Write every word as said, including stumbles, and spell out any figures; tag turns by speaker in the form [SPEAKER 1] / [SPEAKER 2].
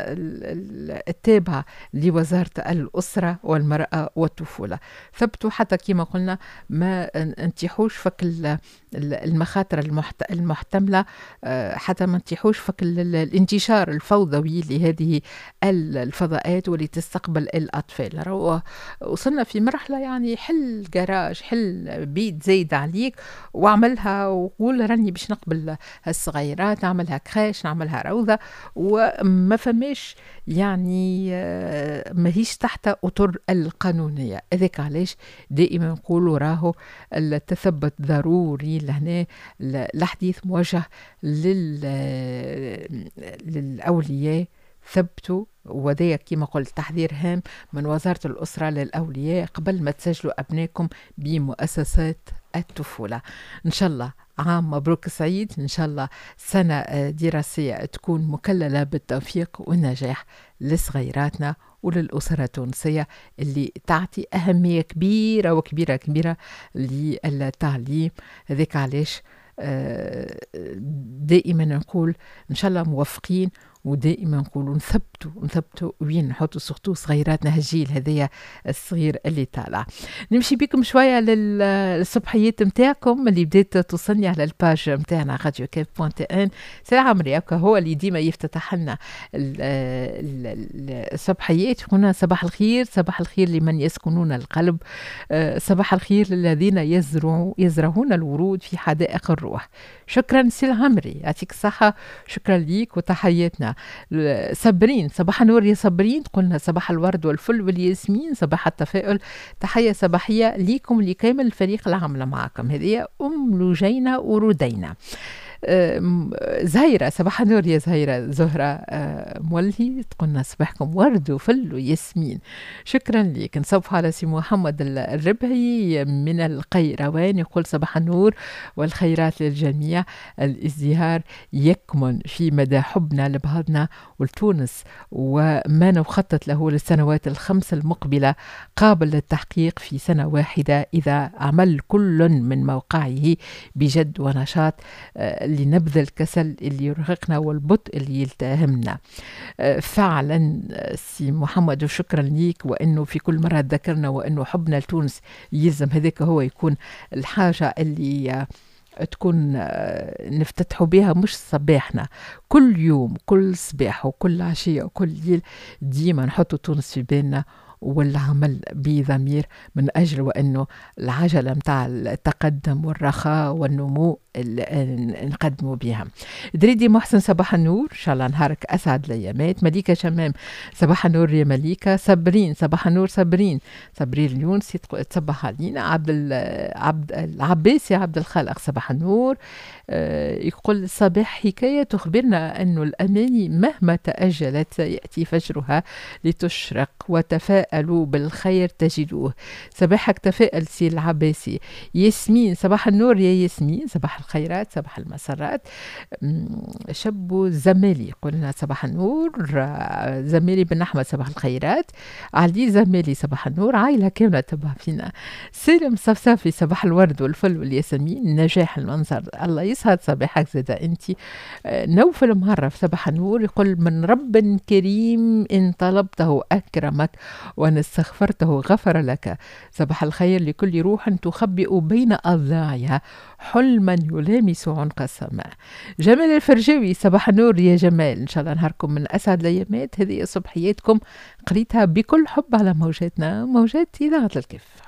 [SPEAKER 1] التابعة لوزارة الأسرة والمرأة والطفولة. ثبتوا حتى كما قلنا ما نتيحوش فك المخاطر المحتملة، آه، حتى ما نتيحوش فك الانتشار الفوضوي لهذه الفضاءات واللي تستقبل الأطفال. راهو وصلنا في مرحلة يعني حل جراج، حل بيت زايد عليك واعملها وقول راني باش نقبل الصغيرات، نعملها crèche، نعملها روضة، وما فماش يعني آه، ماهيش تحت أطر القانونية. هذاك علاش دائما نقولوا راهو التثبت ضروري. لهنا الحديث موجه لل للأولياء، ثبتوا، وذا كما قلت تحذير هام من وزارة الأسرة للأولياء قبل ما تسجلوا أبنائكم بمؤسسات الطفولة. إن شاء الله عام مبروك سعيد، إن شاء الله سنة دراسية تكون مكللة بالتوفيق والنجاح لصغيراتنا وللأسرة التونسية اللي تعطي أهمية كبيرة وكبيرة كبيرة للتعليم. هذاك علاش آه، دائما نقول إن شاء الله موفقين، ودائما نقولوا نثبتوا نثبتوا وين نحطوا surtout صغيراتنا، هالجيل هذايا الصغير اللي طالع. نمشي بكم شوية للصبحيات نتاعكم اللي بدات توصلني على ال page نتاعنا راديو كيف point tn. سي عمري هو اللي ديما يفتتح لنا الصبحيات. هنا صباح الخير، صباح الخير لمن يسكنون القلب، آه، صباح الخير للذين يزرعوا يزرعون الورود في حدائق الروح. شكرا سي العمري، يعطيك الصحة، شكرا ليك وتحياتنا. صابرين، صباح النور يا صابرين، قلنا صباح الورد والفل والياسمين، صباح التفاؤل، تحية صباحية ليكم لكامل الفريق العامل معكم. هذه أم لجينة ورودينا. زهيرة، صباح النور يا زهيرة، زهرة آه، مولهي تقولنا صباحكم ورد وفل وياسمين، شكرا لك. نصبح على سي محمد الربعي من القيروان، يقول صباح النور والخيرات للجميع، الازدهار يكمن في مدى حبنا لبعضنا ولتونس، وما نخطط له للسنوات الخمس المقبلة قابل للتحقيق في سنة واحدة إذا عمل كل من موقعه بجد ونشاط، آه، لنبذ الكسل اللي يرهقنا والبطء اللي يلتهمنا. آه، فعلا سي محمد وشكرا ليك، وانه في كل مرة ذكرنا وانه حبنا لتونس يلزم هذاك هو يكون الحاجة اللي تكون آه، نفتتحوا بها مش صباحنا كل يوم، كل صباح وكل عشية وكل ليل ديما نحطوا تونس في بالنا والعمل بضمير من أجل وأنه العجلة متاع التقدم والرخاء والنمو نقدموا بها. دريدي محسن صباح النور، إن شاء الله نهارك أسعد الأيامات. مليكة شمام صباح النور يا مليكة. صابرين صباح النور، صابرين صابرين اليونسي تصبح علينا. عبد عبد العباسي عبد الخالق صباح النور، آه، يقول صباح حكاية تخبرنا أن الأماني مهما تأجلت سيأتي فجرها لتشرق، وتفاءلوا بالخير تجدوه. صباحك تفاءل سي العباسي. ياسمين صباح النور يا ياسمين، صباح الخيرات صباح المسرات. شبو زمالي قلنا صباح النور، زمالي بن أحمد صباح الخيرات. علي زمالي صباح النور، عائلة كاملة تبع فينا. سالم صفصافي صباح الورد والفل والياسمين، نجاح المنظر الله يسعد صباحك زاد انت. نوفل مهرف صباح النور، يقول من رب كريم إن طلبته أكرمك وإن استغفرته غفر لك. صباح الخير لكل روح تخبئ بين أضلاعها حلما يلامس عنق السماء. جمال الفرجاوي صباح النور يا جمال، إن شاء الله نهاركم من أسعد الأيامات. هذه صبحياتكم قريتها بكل حب على موجاتنا، موجات إذاعة الكيف.